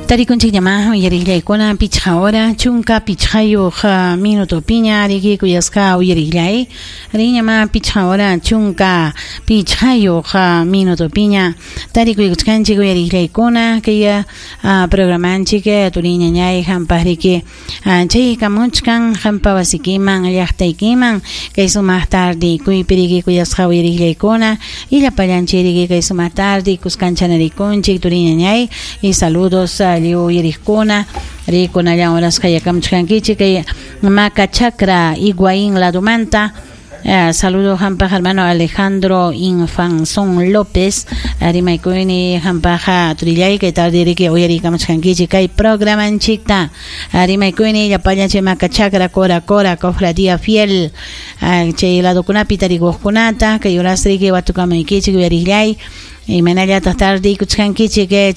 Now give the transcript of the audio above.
Tarikunchikñamá uyariqllaykuna 5 hora 15 minutopiña riki kuyasqa uyariqllay riñamá 5 hora 15 minutopiña tarikuykuchkanchik uyariqllaykuna kay programanchik turiñañay hampaq riki chaykamuchkan hampa wasikiman llaqtaykiman kay sumaq tardikuypi riki kuyasqa uyariqllaykuna y llapallanchik riki kay sumaq tarde kuskanchanarikunchik turiñañay y saludos lliw uyariqkuna rikunallan horasqa yakamuchkankichik kay Maca Chacra Higuaín ladumanta. Saludo hampaq hermano Alejandro Infanzón López. Rimaykuyni hampaq turillay kay tarde riki uyarikamuchkankichik kay programanchikta. Rimaykuyni llapallan chay Maca Chacra Cora Cora Cofradía Fiel. Chay ladokunapi tarikuqkunata kay horas riki watukamaykichik uyariqllay. Imaynallataq tardeykuchkankichik chay